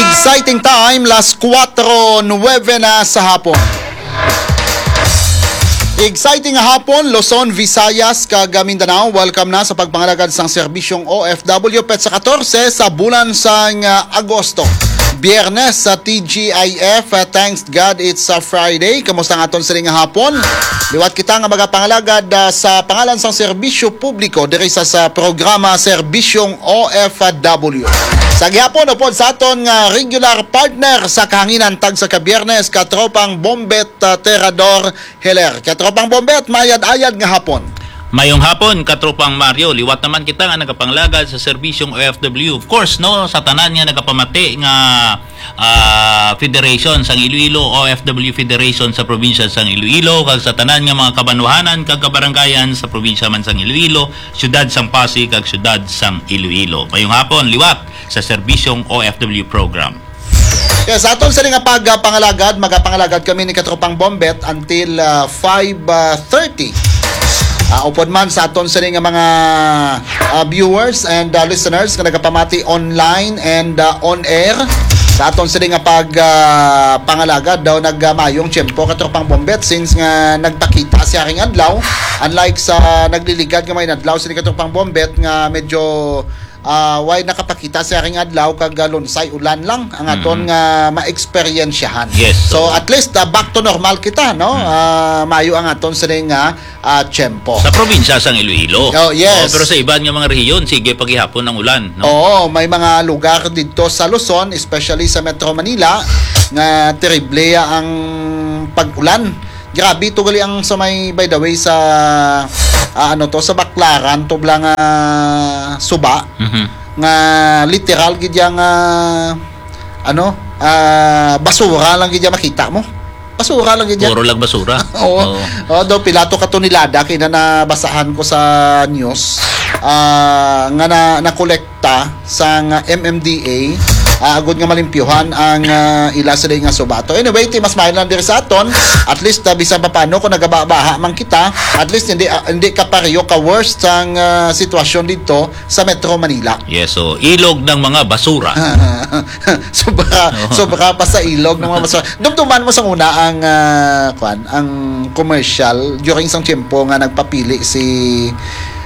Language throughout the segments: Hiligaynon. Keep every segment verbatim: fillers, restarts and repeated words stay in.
Exciting time, las kuwatro nuwebe na sa hapon. Exciting nga hapon, Luzon, Visayas, kag Mindanao. Welcome na sa pagpangalagad sang serbisyong O F W, petsa katorse sa bulan sang, ah, Agosto. Biyernes sa T G I F. Ah, thanks God it's a Friday. Kamusta ang aton sining nga hapon? Liwat kita nga magapangalagad, ah, sa pangalan sang serbisyo publiko diri sa, sa programa Serbisyong O F W. Sa gihapon, upod sa aton nga regular partner sa kahanginan, tag sa ka Biyernes, katropang Bombet, ah, Terador Heller. Katropang Bombet, mayad-ayad nga hapon. Mayong hapon, katropang Mario. Liwat naman kita nga nagapanglagad sa serbisyong O F W. Of course, no, sa tanan nga nagapamati nga, ah, federation sang Iloilo, O F W Federation sa probinsya sang Iloilo, kag sa tanan nga mga kabanwahanan kag kabarangayan sa probinsya man sang Iloilo, siyudad sang Pasig, kag siyudad sang Iloilo. Mayong hapon, liwat sa serbisyong O F W program. Yes, sa aton sini nga pagpangalagad, magapangalagad kami ni Katropang Bombet until, ah, five thirty. Ah, upod man sa aton sini nga mga, ah, viewers and, ah, listeners nga nagapamati online and, ah, on air. Sa aton sini nga pag, ah, pangalagad daw nagmayong tiyempo, Katropang Bombet, since nga nagpakita siya ring adlaw, unlike sa nagliligad nga may adlaw sini, Katropang Bombet, nga medyo ah, way nakapakita sa ring adlaw kag, ah, lunsay ulan lang ang aton Mm. nga maeksperiensyahan. Yes, So, so at least, ah, back to normal kita, no? Mm. Ah, mayo ang aton sining nga, ah, tiyempo. Sa probinsya sang Iloilo. Oh, yes. Oh, pero sa iban nga mga rehiyon, sige pa gihapon ang ulan, no? Oo, may mga lugar didto sa Luzon, especially sa Metro Manila, nga terrible ang pag-ulan. Grabe to gali ang sa may, by the way, sa, ah, ano to, sa Baclaran to bala nga suba, Mhm. nga literal gid yang, ah, ano, ah, basura lang gid yang makita mo. Basura lang gid yan. Puro lang basura. Oo. Oo. Oh, daw pila to ka tonelada kay na nabasahan ko sa news, ah, nga na, nakolekta sang M M D A, ah, agud nga malimpyuhan ang, ah, ila sila nga subato. Anyway, ti mas maayo lang diri sa aton. At least, ah, bisan pa paano kung nagababaha man kita, at least hindi, ah, hindi ka pareho ka worst sang, ah, sitwasyon dito sa Metro Manila. Yes, so ilog ng mga basura. Sobra, Oo. sobra pa sa ilog ng mga basura. Dumduman mo sa una ang, ah, kwan, ang commercial during isang tiyempo nga nagpapili si,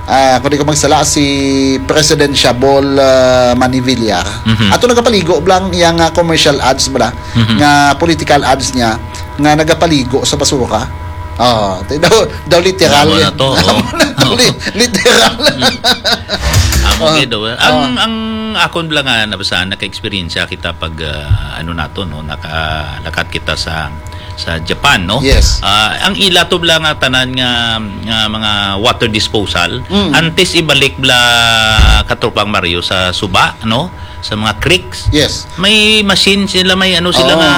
ah, kung di ko magsala, si President Shabol, ah, Manny Villar. Mhm. Ato nagapaligo blang iyang, ah, commercial ads bala, Mhm. nga political ads niya nga nagapaligo sa basura. Oh, ti-, daw, daw literal Amo na yan. to, oh. Amo na to, li-, literal. Mm. Amo Oh. gid, oh. Ang, Oh. ang akon lang nga nabasahan, naka-eksperyensya kita pag, ah, ano nato, no, naka-, lakat kita sa, sa Japan, no? Yes. Ah, ang ila to lang nga tanan nga, nga mga water disposal, Mm. antes ibalik bla Katropang Mario sa suba, no? Sa mga creeks. Yes. May machine sila, may ano sila Oo. nga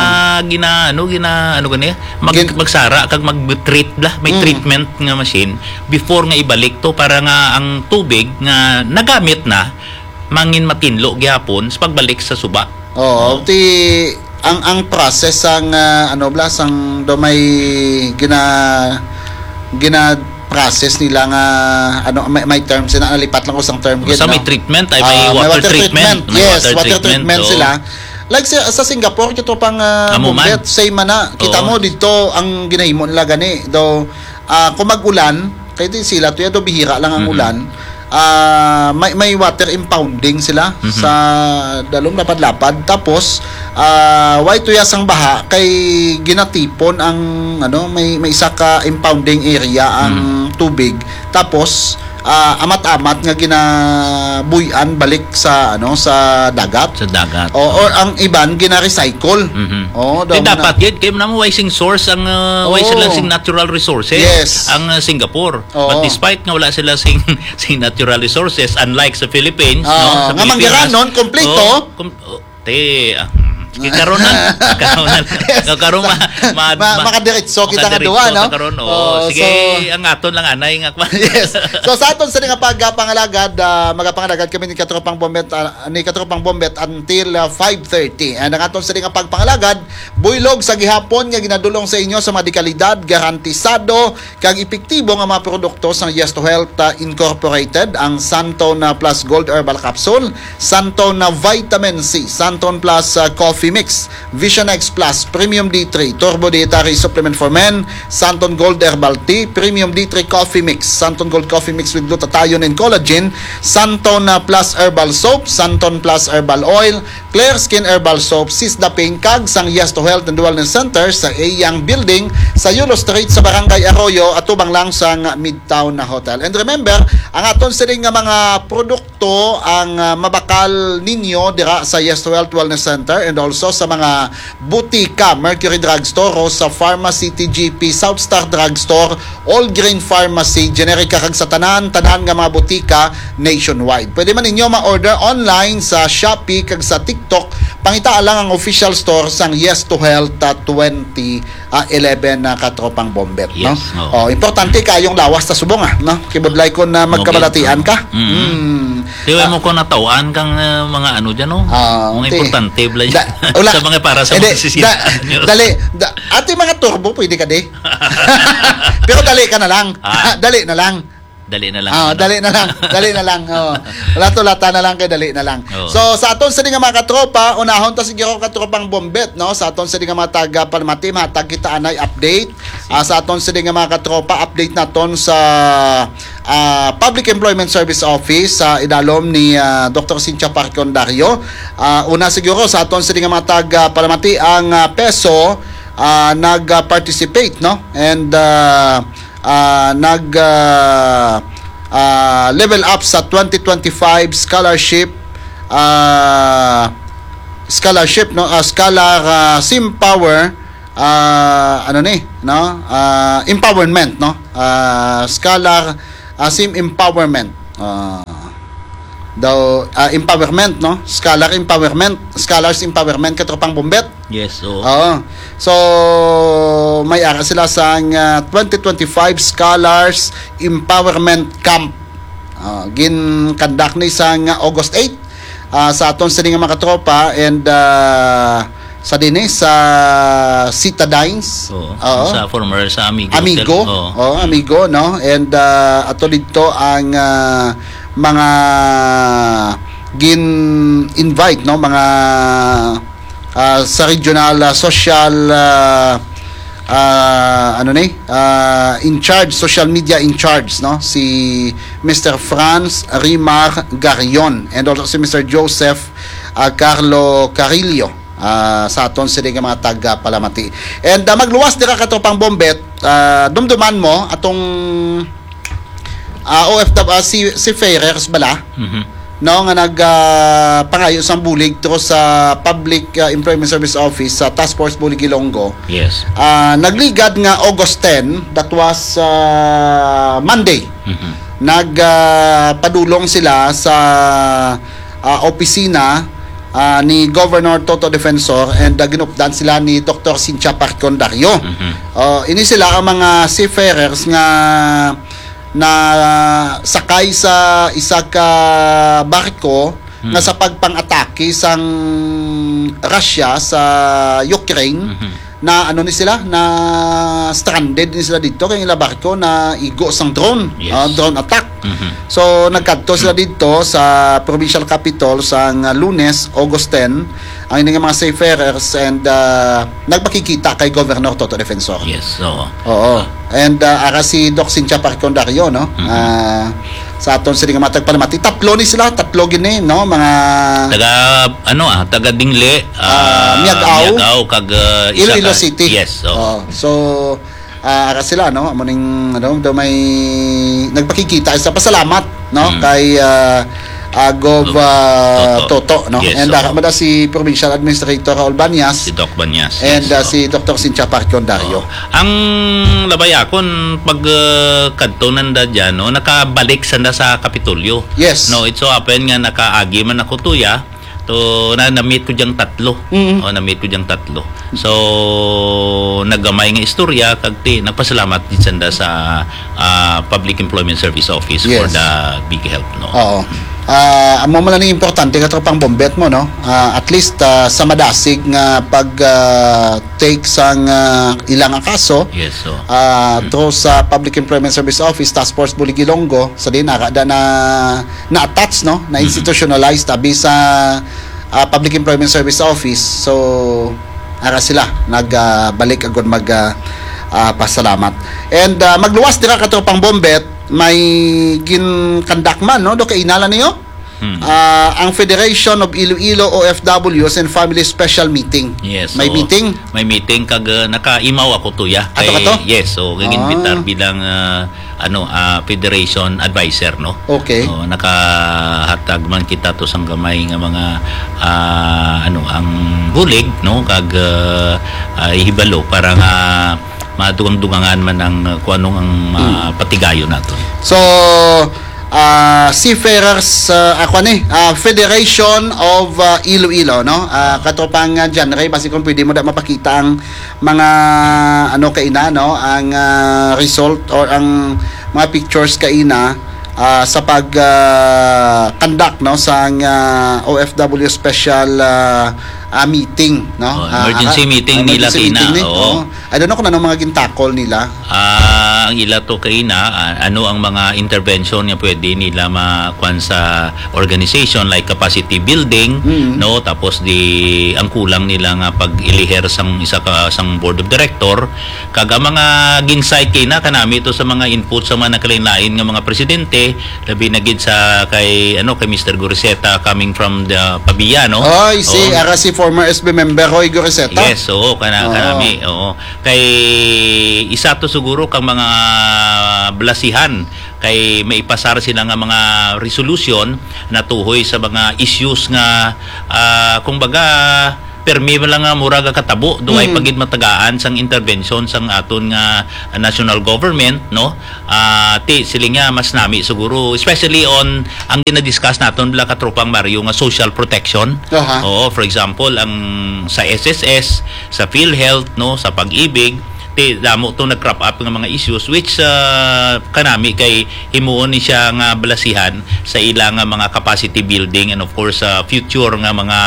gina-, ano, gina-, ano gani? Mag-, Gin- magsara kag mag-treat bla. May Mm. treatment nga machine before nga ibalik to para nga ang tubig nga nagamit na mangin matinlo gihapon sa pagbalik sa suba. Oo, Oo. ti ang, ang process sang, ah, ano bla, sang do may gina-, gina-process nila nga, ano, may, may term sila, nalipat lang ko sang term Basta gid, may no? treatment, ay may Ah, may water water treatment. treatment. May Yes, water water treatment, treatment oo. sila. Like sa, sa Singapore, kito pang, ah, Amo man. Bumbet, same man na. Kita Oo. mo dito, ang ginahimo nila gani, daw, ah, kung mag-ulan, kay di sila to, ya, daw bihira lang ang Mhm. ulan. Ah, may, may water impounding sila Mhm. sa dalom lapad-lapad. Tapos, ah, way tuyas ang baha kay ginatipon ang, ano, may, may isa ka impounding area ang Mhm. tubig. Tapos, ah, amat-amat nga ginabuy-an balik sa, ano, sa dagat. Sa dagat. O, or ang iban gina-recycle. Mhm. Oo, Di daw dapat na. gid, kay namo way sing source ang, ah, way Oo. sila sing natural resources Yes. ang, ah, Singapore. Oo. But despite nga wala sila sing, sing natural resources, unlike sa Philippines, Ah, no? Sa nga Philippines, manggiranon, kompleto. oh, kom-, oh, te, ah, mm, sige, karon na. Karon na. Yes. Karon ma-, ma-, Ma-, ma-, makadiretso kita nga makadiretso duwa, no? ta karon, oh. Oo, Sige, so ang aton lang anay nga kwan. Yes. So, sa aton sa nga pagpangalagad, ah, magapangalagad kami ni Katropang Bombet, ah, ni Katropang Bombet until, ah, five thirty. And ang aton sa nga pagpangalagad, Buylog sa gihapon nga ginadulong sa inyo sa mga dekalidad, garantisado, kag epektibo nga mga produkto sang Yes to Health, ah, Incorporated, ang Santon, ah, Plus Gold Herbal Capsule, Santon na Vitamin C, Santon Plus, ah, Coffee Mix, Vision X Plus, Premium D three, Turbo Dietary Supplement for Men, Santon Gold Herbal Tea, Premium D three Coffee Mix, Santon Gold Coffee Mix with Glutathione and Collagen, Santon, ah, Plus Herbal Soap, Santon Plus Herbal Oil, Clear Skin Herbal Soap, Sisda Pain, kag sang Yes to Health and Wellness Center sa iyang building sa Yulo Street sa Barangay Arroyo, atubang lang sang Midtown na Hotel. And remember, ang aton sining nga mga produkto ang, ah, mabakal ninyo dira sa Yes to Health Wellness Center and also sa mga butika, Mercury Drugstore, Rosa Pharmacy, T G P, South Star Drugstore, All Green Pharmacy, Generica, kag sa tanan-tanan nga mga butika nationwide. Pwede man ninyo ma-order online sa Shopee kag sa TikTok. Pangitaa lang ang official store sang Yes to Health, ah, twenty, ah, eleven na katropang bombet, no? Yes, oo. Oh, importante kayong lawas ta subong, ah, no? Kibudlay ko na magkabalatian ka. Mm. Mm. Di ba mo ko natawan kang, ah, mga ano dyan, no? Ah, mga importante, bla-, da-, wala. Sa mga para sa hindi, mga sisiyahan da-, nyo. Dali, da-, ati mga turbo, pwede ka di. Pero dali ka na lang. Ah. Dali na lang. Dali na lang, Ah, ano? Dali na lang. Dali na lang. Oh. Wala to, lata na lang kay dali na lang. Oo. So, sa aton sini nga mga katropa, unahon ta siguro katropang bombet, no? Sa aton sini nga mga taga Palmati, matag kita anay update. Ah, sa aton sini nga mga katropa, update naton sa, ah, Public Employment Service Office sa idalom ni, ah, Doktor Cynthia Parcondario. Ah, una siguro sa aton sini nga mga taga Palmati, ang, ah, peso, ah, nag-participate, no? And, ah, ah, nag, ah, ah, level up sa twenty twenty-five scholarship, ah, scholarship, no? Ah, scholar, ah, Sim Power, ah, ano ni, no? Ah, empowerment, no? Ah, scholar, ah, Sim Empowerment. Ah, daw, ah, empowerment, no? Scholar empowerment, scholars empowerment, katropang bombet. Yes, oo. Oo. So, may ara sila sang, ah, twenty twenty-five Scholars Empowerment Camp. Ah, gin-conduct ni sang August eight, ah, sa aton sini nga mga katropa and, ah, sa dinhi sa Citadines. Oo. Oo. Sa former, sa Amigo Amigo. Hotel. Oo. Oo, Amigo, no? And, ah, ato dito ang, ah, mga gin-invite, no? Mga, ah, sa regional, ah, social, ah, ah, ano ni? Ah, in charge, social media in charge, no? Si Mister Franz Rimar Garion and also si Mister Joseph, ah, Carlo Carillo, ah, sa aton sini nga mga taga Palamati. And, ah, magluwas dira katropang bombet, ah, dumduman mo atong, ah, O F W, ah, si, seafarers bala, Mhm. no, nga nag, ah, pangayo sang bulig to sa Public, ah, Employment Service Office sa Task Force Bulig Ilonggo. Yes. Ah, nagligad nga August ten, that was, ah, Monday. Mhm. Nag, ah, padulong sila sa, ah, opisina, ah, ni Governor Toto Defensor and, ah, ginupdan sila ni Doktor Cynthia Parcondario. Mhm. Ah, ini sila ang mga seafarers nga na sakay sa isa ka barko Hmm. nga sa pagpang-atake sang Russia sa Ukraine, Mhm. na ano ni sila, na stranded ni sila dito kay ila barko na igo sang drone, Yes. ah, drone attack. Mhm. So, nagkadto sila dito sa provincial capital sang Lunes, August ten, ang ini nga mga seafarers and, ah, nagpakikita kay Governor Toto Defensor. Yes, oo. Oo. And, ah, ara si Doc Cynthia Parcondario, no? Mhm. Ah, sa aton sini nga mga tagpalamati, tatlo ni sila, tatlo gini, no? Mga taga, ano, ah, taga Dingle, Ah, ah, Miag-ao. Miag-ao, kag, ah, isa Iloilo ka City. Yes, oo. Oo. So, ah, ara sila, no? Amo ning, ano, daw may nagpakikita sa pasalamat, no? Mm. Kay, ah, ah, Gov, Gov ah, Toto. Toto, no? Yes, And, ah, oo. Mada si Provincial Administrator Raul Banyas. Si Doc Banyas, And, yes, ah, oo. Si Doktor Cynthia Parcondario. Oo. Ang labay akon, pag, ah, kadto nanda dyan, no, nakabalik sanda sa Kapitolyo. Yes. No, it so happen nga nakaagi man ako tuya, to, na, na-meet ko diyang tatlo. Mm. Oh, na-meet ko diyang tatlo. So, naggamay nga istorya, kag ti, nagpasalamat din sanda sa, ah, Public Employment Service Office for Yes. the big help, no? Oo. Ah, amo man ang importante, katropang Bombet, mo, no? Ah, at least, ah, sa madasig nga pag, ah, take sang, ah, ila nga kaso, Yes, so. ah, through sa Public Employment Service Office, Task Force Bulig-Ilonggo, sa din, ara da na, na-attach, no? Na-institutionalized, abi sa, ah, Public Employment Service Office. So, ara sila, nag, ah, balik agud mag, ah, ah, pasalamat. And, ah, magluwas dira, katropang Bombet, may gin-conduct man, no? Do kay inala niyo? Hmm. Ah, ang Federation of Iloilo O F Ws and Family Special Meeting. Yes, May so, meeting? may meeting kag, uh, nakaimaw ako, Tuya. Ato ka Kay, to? yes, so, kag Ah. invitar bilang, uh, ano, uh, Federation Advisor, no? Okay. So, nakahatag man kita to sang gamay nga mga, uh, ano, ang bulig, no? Kag, uh, uh, ihibalo para nga madugang-dugangan man ang, uh, kung anong ang Hmm. mapatigayon nato. So, ah, Seafarers, ah, ako ni, ah, Federation of, ah, Iloilo, no? Ah, katropang, ah, John Ray, basi kung pwede mo da mapakita ang mga, ano, kaina, no? Ang, ah, result or ang mga pictures kaina, ah, sa pag, ah, conduct, no, sang, ah, O F W special, ah, ah, meeting, no? Oh, Ah, emergency ah, meeting nila emergency kaina, meeting ni. oo. Oh. I don't know kung ano mga gintakol nila. Ah, ang ila to kaina, ah, ano ang mga intervention nga pwede nila ma-, kwan sa organization, like capacity building, Mm. no? Tapos di ang kulang nila nga pag-iliher sang isa ka, sang board of director. Kag ang mga gin-cite kaina kanami to sa mga input sa mga nakalain-lain nga mga presidente, labi na gid sa kay, ano, kay Mister Goriseta coming from the Pavia, no? Oy, si, Oo. ara si former S B member Roy Goriseta. Yes, oo, kana, Oo. kanami, oo. Kay isa to siguro kang mga blasihan kay maipasar sila nga mga resolution natuhoy sa mga issues nga, ah, kung baga, permi man lang nga mura ga katabo, duway Mm. pa gid matagaan sang intervention sang aton nga national government, no? Ah, ti, siling nga mas nami siguro, especially on ang gina-discuss naton, bala, katropang Mario, nga social protection. Aha. Oo, for example, ang sa S S S, sa PhilHealth, no, sa Pag-ibig, ti, damo to nag-crop up nga mga issues, which, ah, kanami kay himuon ni siya nga balasihan sa ila nga mga capacity building and, of course, sa future nga mga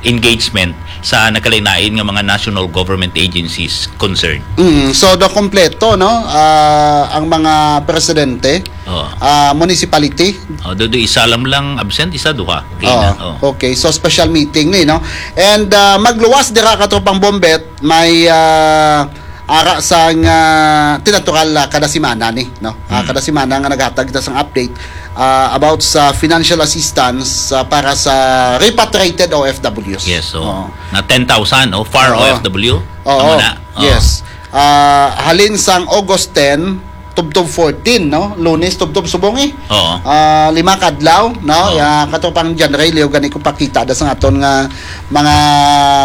engagement sa nakalain-lain nga mga national government agencies concerned. Mm, so, do kompleto, no? Ah, ang mga presidente, Oo. ah, municipality. Oh, do, do isa lang lang absent, isa, duha. Okay Oo. na. Oh. Okay, so special meeting ni, no? And, ah, magluwas dira, katropang Bombet, may, ah, ara sang, ah, tinatural, ah, kada semana ni, no? Ah, Mm. kada semana nga naghatag ta sang update, ah, about sa financial assistance, ah, para sa repatriated O F Ws. Yes, so, Oo. na ten thousand, oh, far Oo. O F W. Oo. Tama na? Oo. Yes. Ah, halin sang August ten, tubtob fourteen, no? Lunes, tubtob subong, eh. Oo. Ah, lima ka adlaw, no? Oo. Ya, katropang John Ray, liw gani ko pakita da sa aton nga mga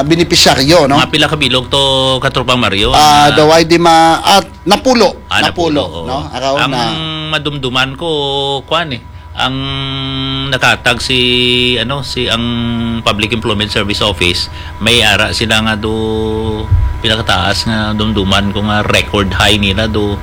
benepisyaryo, no? Mga pila ka bilog to, katropang Mario, Ah, ang, ah, daw ay di ma-, at napulo. Ah, Napulo, napulo, oo. no? Araw Ang na. madumduman ko, kwan, eh. Ang nakatag si, ano, si ang Public Employment Service Office, may ara sila nga do pinakataas nga dumduman ko nga record high nila do,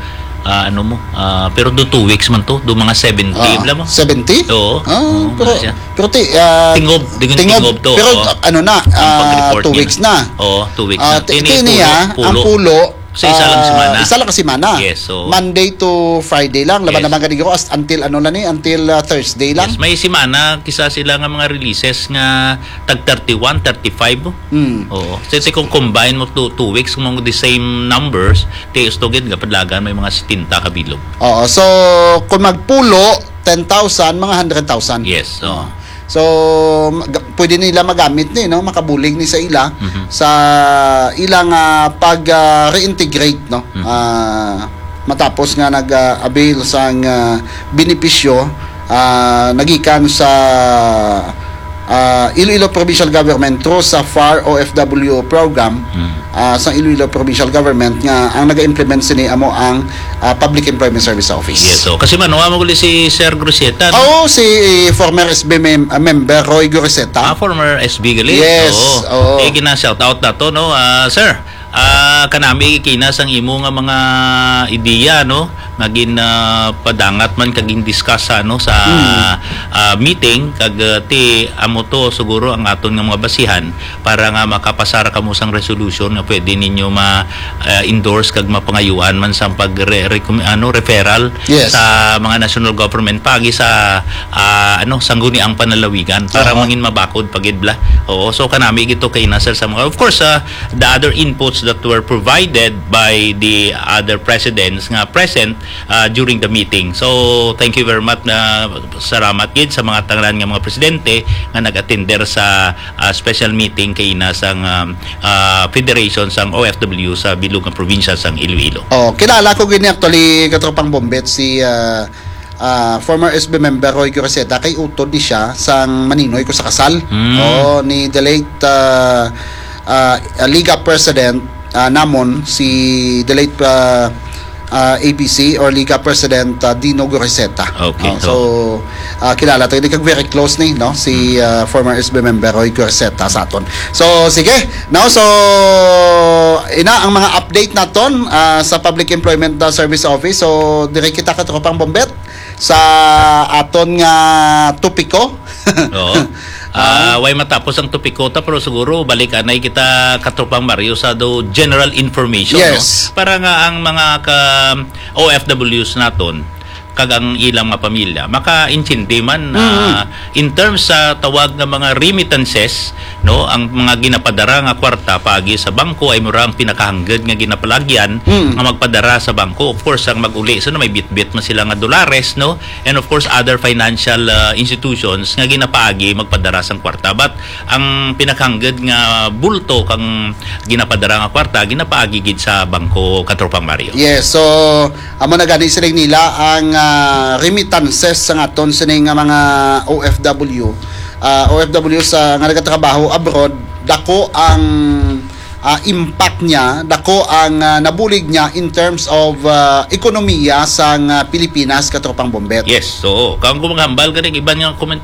ah, ano mo, ah, pero do two weeks man to, do mga seventy, Ah, bla mo? seventy? Oo. Ah, Oo, pero, wala siya. pero ti, ah, Tingob, di ko tingob, tingob to, pero oo. ano na, Ang ah, pag-report two nila. weeks na. Oo, two weeks Ah, na. ti-, Tini, ti niya, pulo, ang pulo. pulo, Sa isa lang ah, semana. isa lang ka semana. Yes, so Monday to Friday lang. Laban Yes. naman gani ko as-, until ano lang ni, until, ah, Thursday lang. Yes, may semana, kisa sila nga mga releases nga tag thirty-one, thirty-five. Mm. Oo. So, so kung combine mo two, two weeks, kung the same numbers, ti gusto gid nga padlagan may mga setenta ka bilog. Oo. So, kung magpulo, ten thousand, mga hundred thousand. Yes, oo. Oo. So, mag-, pwede nila magamit ni, no? Makabulig ni sa ila, Mhm. sa ilang, ah, pag, ah, reintegrate, no? Mhm. Ah, matapos nga nag, ah, avail sang, ah, benepisyo, ah, nagikan sa, ah, Iloilo Provincial Government through sa far O F W program, Mhm. ah, sa Iloilo Provincial Government nga ang naga-implement sini amo ang, ah, Public Employment Service Office. Yes, so, kasi man, wa mo guli si Sir Groseta, no? Oo, si former S B mem-, ah, member Roy Groseta. Ah, former S B gali? Yes, Oo. oo. Eh, gina-shout out na to, no? Ah, sir, ah, kanami kina sang imo nga mga ideya, no? nga gin, ah, padangat man kag gin-discuss sa, ano, sa, ah, meeting, kag, ah, ti amo to siguro ang aton nga mga basihan para nga makapasar kamo sang resolution nga pwede ninyo ma, ah, endorse kag mapangayuan man sang pag re, recom, ano, referral Yes. sa mga national government paagi sa, ah, ano, sangguniang panlalawigan para Oo. mangin mabakod pa gid bala. Oo, so kanami gito kay na, sir, sa mga, of course, ah, the other inputs that were provided by the other presidents nga present, ah, during the meeting. So, thank you very much, na salamat gid sa mga tanan nga mga presidente nga nag-attender sa, ah, special meeting kay na sang, um, ah, Federation sang O F W sa bilog nga probinsya sang Iloilo. Oh, kilala ko gini actually, katropang Bombet, si, ah, ah, former S B member Roy Cruzeta, kay utod ni siya sang maninoy ko sa kasal. Mm. Oh, ni the late, ah, ah, Liga President, ah, namon, si the late, ah, ah, A B C or Liga President, ah, Dino Cruzeta. Okay, Oh, so, so ah, kilala tayo, di kag very close ni, no, si, ah, former S B member Roy Cruzeta sa aton. So, sige, now, so, ina ang mga update naton, ah, sa Public Employment, ah, Service Office. So, diri kita, katropang Bombet, sa aton nga topiko. Oo. Ah, way matapos ang topiko ta, pero siguro balik anay kita, katropang Mario, sa do general information, Yes. no? Para nga ang mga ka O F Ws naton kag ang ilang mga pamilya makaintindi man, Mm. ah, in terms sa tawag nga mga remittances, no, ang mga ginapadara nga kwarta paagi sa bangko ay mura ang pinakahangged nga ginapalagyan Mm. nga magpadara sa bangko. Of course, ang mag-uli sa, no, may bitbit man sila nga dolares, no, and of course other financial, ah, institutions nga ginapaagi magpadara sang kwarta. But ang pinakahangged nga bulto kang ginapadara nga kwarta ginapaagi gid sa bangko, katropang Mario. Yes, so amo na gani siling nila ang, ah, remittances sa aton sini nga mga O F W. Ah, O F W sa nga nagatrabaho abroad, dako ang, ah, impact niya, dako ang, ah, nabulig niya in terms of, ah, ekonomiya sang, ah, Pilipinas, katropang Bombet. Yes, so kang kung maghambal ganing iban nga komentaryo,